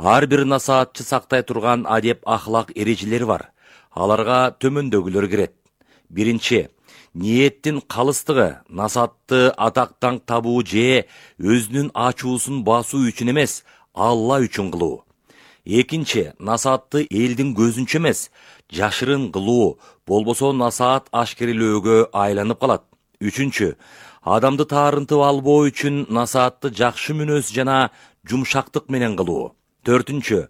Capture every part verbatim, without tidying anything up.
Ар бир насаатчы сактай турган адеп ахлак эрежелери бар. Аларга төмөндөгүлөр кирет. Биринчи, ниеттин калыстыгы, насаатты атактан табуу же өзүнүн ачуусун басуу үчүн эмес, Алла үчүн кылуу. Экинчи, насаатты элдин көзүнчө эмес, жашырын кылуу, болбосо насаат ашкерелөөгө айланып калат. Үчүнчү, адамды таарынтып албоо үчүн насаатты жакшы мүнөз жана жумшактык менен кылуу. Төртүнчү,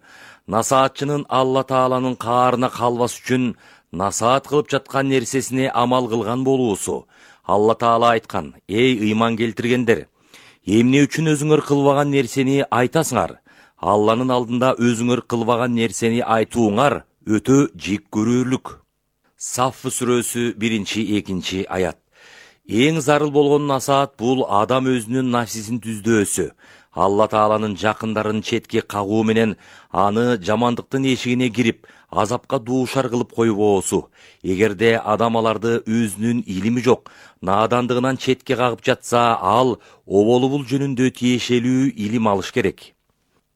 насаатчынын Алла Тааланын каарына калбас үчүн насаат кылып жаткан нерсесине амал кылган болуусу. Алла Таала айткан: «Эй ыйман келтиргендер, эмне үчүн өзүңөр кылбаган нерсени айтасыңар? Алланын алдында өзүңөр кылбаган нерсени айтууңар өтө жек көрүүлүк». Сафф сүрөсү биринчи экинчи аят. Эң зарыл болгон насаат бул адам өзүнүн нафсисин түздөөсү. Алла Тааланын жакындарын четке кагуу менен аны жамандыктын эшигине кирип, азапка дуушар кылып койбоосу. Эгерде адам аларды өзүнүн илими жок, наадандыгынан четке кагып жатса, ал оболу жөнүндө тиешелүү илим алыш керек.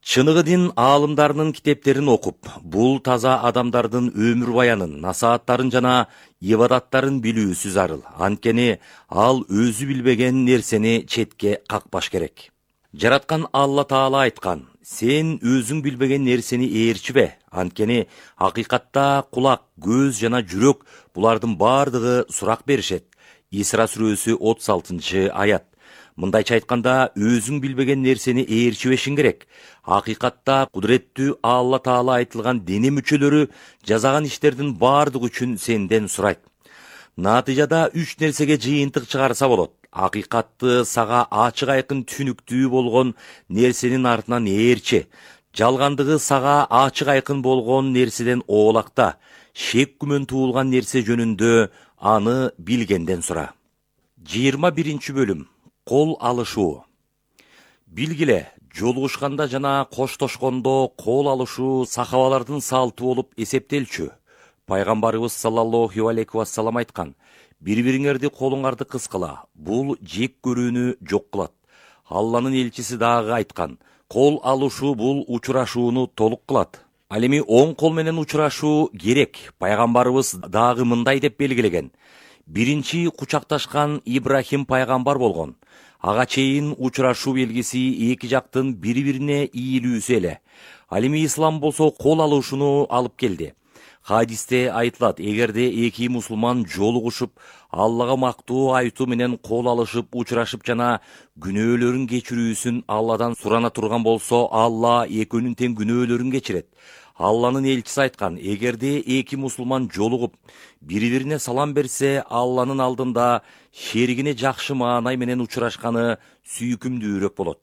Чыныгы дин аалымдарынын китептерин окуп, бул таза адамдардын өмүр баянын, насааттарын жана ибадаттарын билүүсү зарыл. Анткени ал өзү билбеген нерсени четке какпаш керек. Жараткан Алла Таала айткан: «Сен өзүң билбеген нерсени ээрчибе, анткени акыйкатта кулак, көз жана жүрөк булардын бардыгы сурак беришет». Исра сүрөсү отуз алтынчы аят. Мындайча айтканда, өзүң билбеген нерсени ээрчибешиң керек. Акыйкатта кудуреттүү Алла Таала айтылган дене мүчөлөрү жасаган иштердин бардыгы үчүн сенден сурайт. Натыйжада үч нерсеге жыйынтык чыгарса болот. Акыйкатты сага ачык айкын түшүнүктүү болгон нерсенин артынан ээрчи. Жалгандыгы сага ачык айкын болгон нерседен оолакта. Шек күмөн туулган нерсе жөнүндө аны билгенден сура. жыйырма биринчи бөлүм. Кол алышуу. Билгиле, жолугушканда жана коштошкондо кол алышуу сахабалардын салты болуп эсептелчү. Пайгамбарыбыз саллаллаху алейхи вассалам айткан: «Бири-бириңерди колуңарды кыскыла, бул жек көрүүнү жок кылат». Алланын элчиси дагы айткан: «Кол алышуу бул учурашууну толук кылат». Ал эми оң кол менен учурашуу керек. Пайгамбарыбыз дагы мындай деп белгилеген: «Биринчи кучакташкан Ибрахим пайгамбар болгон. Ага чейин учурашуу белгиси эки жактын бири-бирине ийилүүсү эле. Ал эми ислам болсо кол алышууну алып келди». Хадисте айтылат: эгерде эки мусулман жолугушуп, Аллага мактоо айтуу менен кол алышып, учурашып жана күнөөлөрүн кечирүүсүн Алладан сурана турган болсо, Алла экөөнүн тең күнөөлөрүн кечирет. Алланын элчиси айткан: эгерде эки мусулман жолугуп, бири-бирине салам берсе, Алланын алдында шеригине жакшы маанай менен учурашканы сүйкүмдүүрөөк болот.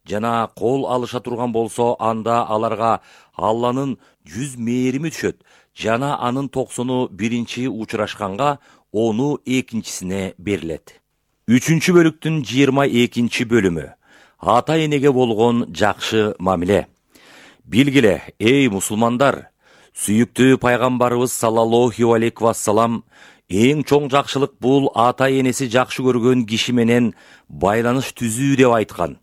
Жана кол алыша турган болсо, анда аларга Алланын жүз мээрими түшөт. Жана анын токсону биринчи учурашканга, ону экинчисине берилет. Үчүнчү бөлүктүн жыйырма экинчи бөлүмү. Ата энеге болгон жакшы мамиле. Билгиле, эй мусулмандар, сүйүктүү пайгамбарыбыз саллаллаху алейхи вассалам эң чоң жакшылык бул ата энеси жакшы көргөн киши менен байланыш түзүү деп айткан.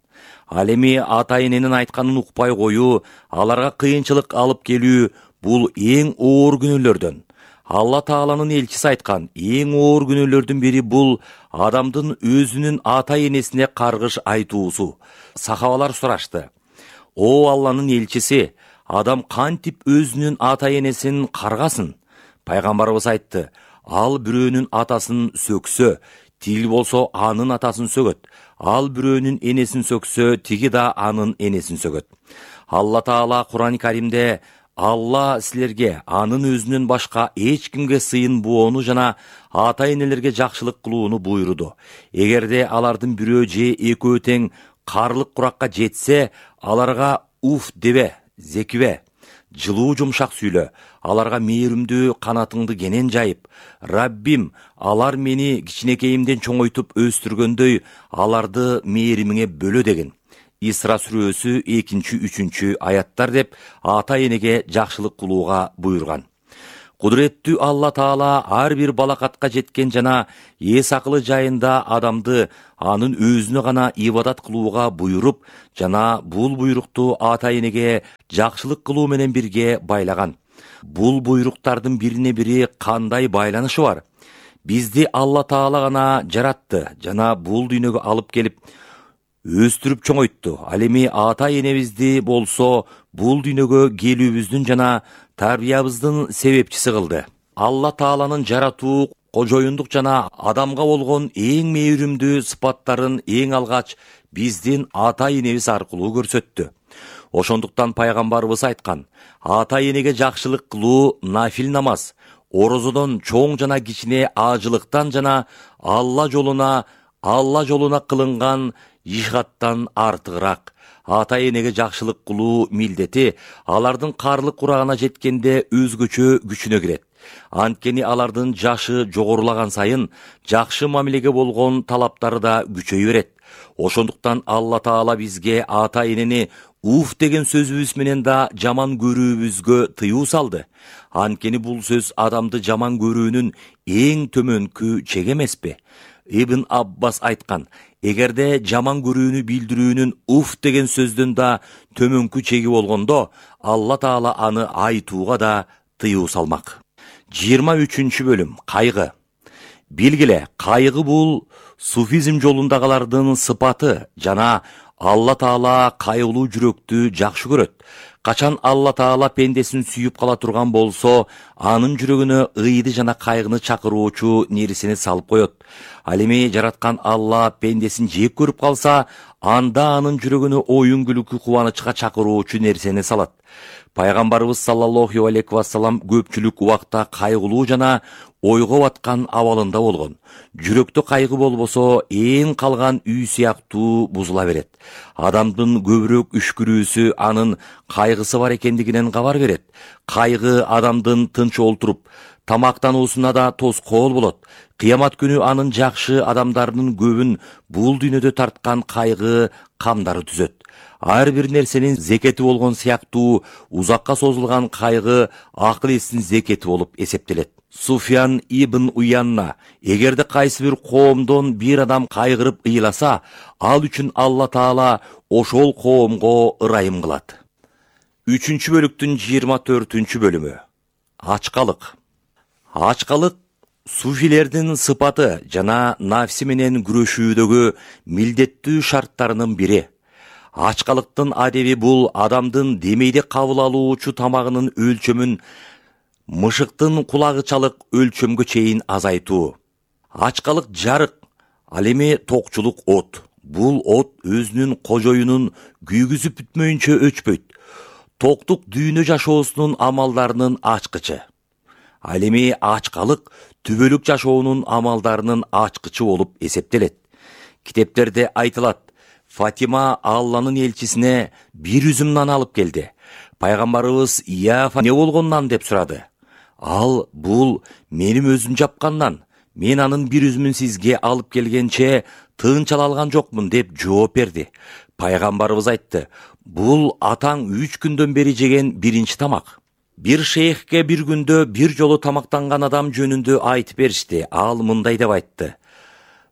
Ал эми ата эненин айтканын укпай коюу, аларга кыйынчылык алып келүү бул эң оор күнөөлөрдөн. Алла Тааланын элчиси айткан: эң оор күнөөлөрдүн бири бул адамдын өзүнүн ата энесине каргыш айтуусу. Сахабалар сурашты: «О Алланын элчиси, адам кантип өзүнүн ата энесин каргасын?» Пайгамбарыбыз айтты: «Ал бирөөнүн атасын сөксө, тил болсо анын атасын сөгөт. Ал бирөөнүн энесин сөксө, тиги да анын энесин сөгөт». Алла Таала Кур'ан Каримде: «Алла силерге анын өзүнөн башка эч кимге сыйын боону жана ата энелерге жакшылык кылууну буйруду. Эгерде алардын бирөө же экөө тең карлык куракка жетсе, аларга уф дебе, зекибе, жылуу жумшак сүйлө, аларга мээримдүү канатыңды кенен жайып, Раббим, алар мени кичинекейимден чоңойтуп өстүргөндөй, аларды мээримиңе бөлө» деген. Исра сүрөсү экинчи үчүнчү аяттар деп ата энеге жакшылык кылууга буйрган. Кудуреттүү Алла Таала ар бир балакатка жеткен жана эс акылы жайында адамды анын өзүнө гана ибадат кылууга буйруп жана бул буйрукту ата энеге жакшылык кылуу менен бирге байлаган. Бул буйруктардын бирине бири кандай байланышы бар? Бизди Алла Таала гана жаратты жана бул дүйнөгө алып келип өстүрүп чоңойтту. Ал эми ата энебизди болсо бул дүйнөгө келүүбүздүн жана тарбиябыздын себепчиси кылды. Алла Тааланын жаратуу, кожоюндук жана адамга болгон эң мээримдүү сыпаттарын эң алгач биздин ата энебиз аркылуу көрсөттү. Ошондуктан пайгамбарыбыз айткан: ата энеге жакшылык кылуу нафил намаз орозодон чоң жана кичине ажылыктан жана Алла жолуна Алла жолуна кылынган жихадтан артыгыраак. Ата энеге жакшылык кылуу милдети алардын карлык курагына жеткенде өзгөчө күчүнө кирет. Анткени алардын жашы жогорулаган сайын жакшы мамилеге болгон талаптары да күчөйө берет. Ошондуктан Алла Таала бизге ата энени уф деген сөзүбүз менен да жаман көрүүбүзгө тыюу салды. Анткени бул сөз адамды жаман көрүүнүн эң төмөнкү чеги эмеспи? Ибн Аббас айткан: эгерде жаман көрүүнү билдирүүнүн уф деген сөздөн да төмөнкү чеги болгондо, Алла Таала аны айтууга да тыюу салмак. жыйырма үчүнчү бөлүм. Кайгы. Билгиле, кайгы бул суфизм жолундагылардын сыпаты жана Алла Таала кайгылуу жүрөктү жакшы көрөт. Качан Алла Таала пендесин сүйүп кала турган болсо, анын жүрөгүнө ыйды жана кайгыны чакыруучу нерсени салып коет. Ал эми жараткан Алла пендесин жек көрүп калса, анда анын жүрөгүнө оюн күлкү кубанычка чакыруучу нерсени салат. Пайгамбарыбыз саллаллаху алейхи вассалам көпчүлүк убакта кайгылуу жана ойго баткан абалында болгон. Жүрөктө кайгы болбосо, эң калган үй сыяктуу бузула берет. Адамдын көбүрөөк үшкүрүүсү анын кайгысы бар экендигинен кабар берет. Кайгы адамдын тынч олтуруп тамактануусуна да тоскоол болот. Кыямат күнү анын жакшы адамдарынын көбүн бул дүйнөдө тарткан кайгы камдары түзөт. Ар бир нерсенин зекети болгон сыяктуу узакка созулган кайгы акыл эстин зекети болуп эсептелет. Суфьян ибн Уянна: эгерде кайсы бир коомдон бир адам кайгырып ыйласа, ал үчүн Алла Таала ошол коомго ырайым кылат. үчүнчү бөлүктүн жыйырма төртүнчү бөлүмү. Ачкалык. Ачкалык суфилердин сыпаты жана нафси менен күрөшүүдөгү милдеттүү шарттарынын бири. Ачкалыктын адеби бул адамдын демейде кабыл алуучу тамагынын өлчөмүн мышыктын кулагычалык өлчөмгө чейин азайтуу. Ачкалык жарык, ал эми токчулук от. Бул от өзүнүн кожоюнун күйгүзүп бүтмөйүнчө өчпөйт. Токтук дүйнө жашоосунун амалдарынын ачкычы. Ал эми ачкалык түбөлүк жашоонун амалдарынын ачкычы болуп эсептелет. Китептерде айтылат: Фатима Алланын элчисине бир үзүм нан алып келди. Пайгамбарыбыз: "Я Фатима, не болгон нан?" деп сурады. Ал: "Бул менин өзүм жапкан нан. Мен анын бир үзүмүн сизге алып келгенче тыынчала алган жокмун" деп жооп берди. Пайгамбарыбыз айтты: "Бул атаң үч күндөн бери жеген биринчи тамак." Бир шейхке бир күндө бир жолу тамактанган адам жөнүндө айтып беришти. Ал мындай деп айтты: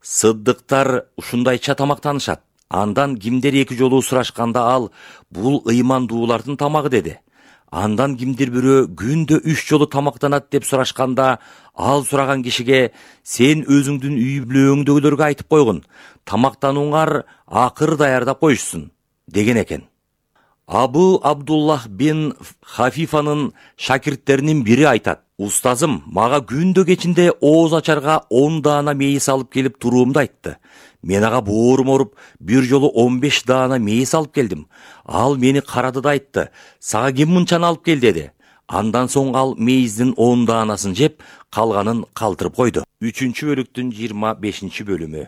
"Сыддыктар ушундайча тамактанышат. Андан кимдер эки жолу сурашканда ал: "Бул ыймандуулардын тамагы" деди. Андан кимдир бирөө күндө үч жолу тамактанат деп сурашканда, ал сураган кишиге: "Сен өзүңдүн үй бүлөңдөгүлөргө айтып койгун, тамактанууңар акыр даярдап коюшсун" деген экен. Абу Абдуллах бин Хафифанын шакирттеринин бири айтат: "Устазым мага күндө кечинде ооз ачарга он даана мейис алып келип туруумду айтты. Мен ага боорум оруп, бир жолу он беш даана мейис алып келдим. Ал мени карады да айтты: "Сага ким мынчаны алып кел" деди. Андан соң ал мейиздин он даанасын жеп, калганын калтырып койду. үчүнчү бөлүктүн жыйырма бешинчи бөлүмү.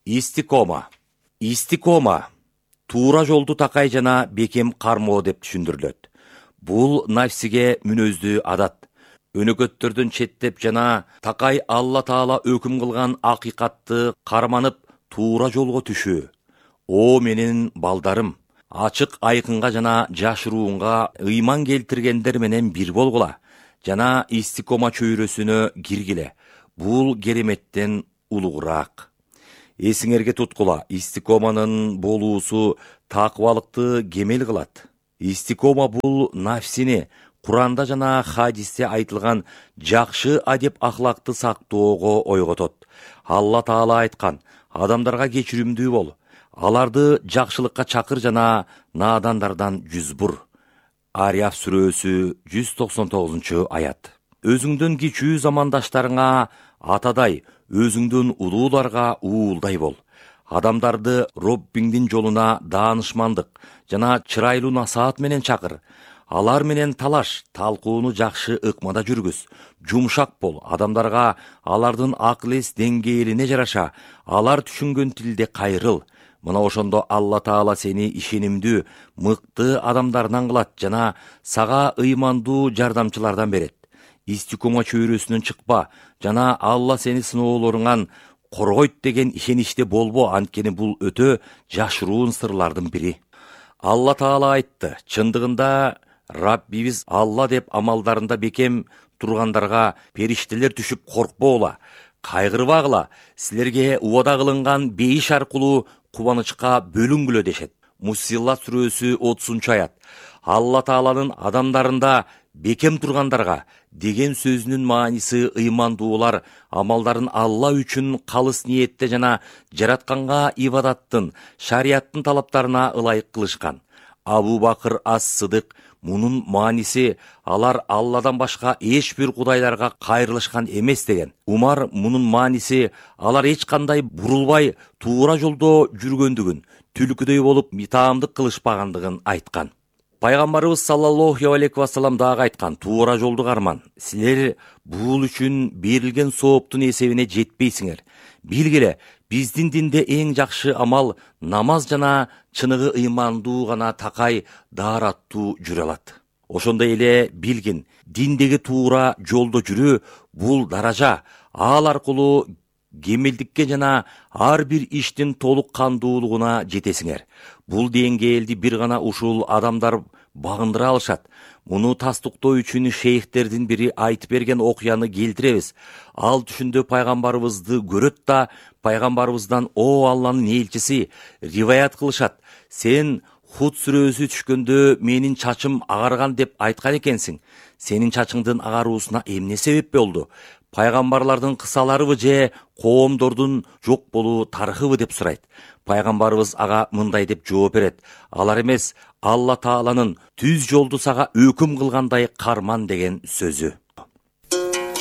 Истикома. Истикома туура жолду такай жана бекем кармоо деп түшүндүрүлөт. Бул нафсиге мүнөздүү адат. Өнөкөттөрдөн четтеп жана такай Алла Таала өкүм кылган акыйкатты карманып, туура жолго түшүү. О менин балдарым, ачык айкынга жана жашыруунга ыйман келтиргендер менен бир болгула. жана истикома чөйрөсүнө киргиле. Бул кереметтен улугураак. Эсиңерге туткула, истикоманын болуусу такыбалыкты кемел кылат. Истикома бул нафсини Куранда жана хадисте айтылган жакшы адеп ахлакты сактоого ойготот. Алла Таала айткан: адамдарга кечиримдүү бол, аларды жакшылыкка чакыр жана наадандардан жүз бур. Арияф сүрөсү жүз токсон тогузунчу аят. Өзүңдөн кичүү замандаштарыңа атадай, өзүңдөн улууларга уулдай бол. Адамдарды Роббиңдин жолуна даанышмандык жана чырайлуу насаат менен чакыр. Алар менен талаш, талкууну жакшы ыкмада жүргүз. Жумшак бол, адамдарга алардын акыл-эс деңгээлине жараша, алар түшүнгөн тилде кайрыл. Мына ошондо Алла Таала сени ишенимдүү, мыкты адамдардан кылат жана сага ыймандуу жардамчылардан берет. Истикома чөйрөсүнөн чыкпа жана Алла сени сыноолоруңан коргойт деген ишеничте болбо, анткени бул өтө жашыруун сырлардын бири. Алла Таала айтты: чындыгында Раббибиз Алла деп амалдарында бекем тургандарга периштелер түшүп коркпогула, кайгырбагыла, силерге убада кылынган бейиш аркылуу кубанычка бөлүнгүлө дешет. Муссилат сүрөсү отузунчу аят. Алла Тааланын адамдарында бекем тургандарга деген сөзүнүн мааниси ыймандуулар амалдарын Алла үчүн калыс ниетте жана жаратканга ибадаттын, шарияттын талаптарына ылайык кылышкан. Абу Бакыр ас-Сыдык мунун мааниси алар Алладан башка эч бир кудайларга кайрылышкан эмес деген. Умар мунун мааниси алар эч кандай бурулбай туура жолдо жүргөндүгүн, түлкүдөй болуп митаамдык кылышпагандыгын айткан. Пайгамбарыбыз саллаллаху алейхи ва саллям дагы айткан: туура жолду карман. Силер бул үчүн берилген сооптун эсебине жетпейсиңер. Билгиле, биздин динде эң жакшы амал намаз жана чыныгы ыймандуу гана такай даараттуу жүрө алат. Ошондой эле билгин, диндеги туура жолдо жүрүү бул даража. Ал аркылуу кемелдикке жана ар бир иштин толук кандуулугуна жетесиңер. Бул деңгээлди бир гана ушул адамдар багындыра алышат. Муну тастыктоо үчүн шейхтердин бири айтып берген окуяны келтиребиз. Ал түшүндө пайгамбарыбызды көрөт да пайгамбарыбыздан: о Алланын элчиси, риваят кылышат, сен Худ сүрөсү түшкөндө менин чачым агарган деп айткан экенсиң. Сенин чачыңдын агаруусуна эмне себеп болду? Пайгамбарлардын кысаларыбы же коомдордун жок болуу тарыхыбы деп сурайт. Пайгамбарыбыз ага мындай деп жооп берет: алар эмес, Алла Тааланын түз жолду сага өкүм кылгандай карман деген сөзү.